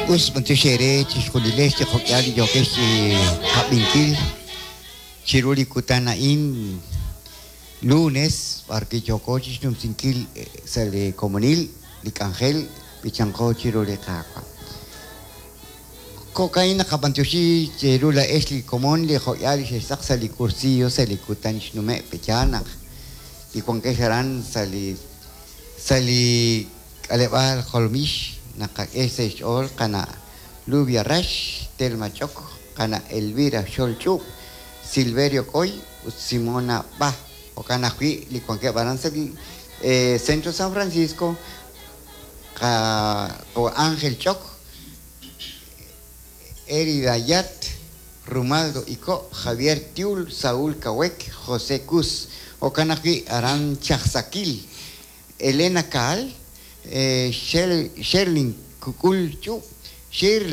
Us b'antiox eere chixjunilex li jo'k'ihal li yookex chi qab'inkil chiru li kutan a'in lunes b'arwi' yooko chixnumsinkil sa' li komonil li k'anjel b'ichanqo chiru li Qaawa'. Jo'ka'in naqab'antioxi cheru laa'ex li komon li jo'k'ihal li xextz'aq sa' li cursillo sa' li kutan xnume' pe'yaal naq li wankex aran sa' li sa' li k'aleb'aal Jolomix naqak'e sa' xch'ool qana' Lubia Rax, Telma Ch'ok, qana' Elvira Xol Ch'ub', Silverio K'oy ut Simona B'a. Jo'kan ajwi' li wankeb' aran sa' li Centro San Francisco qawa' Ángel Ch'ok, Erida Yat, Rumaldo Iko', Javier Tiul, Saúl Kawek, José Cus. Jo'kan ajwi' aran Chajsakil, Elena Kaal, Sherlin Kukul Ch'ub', Shirley.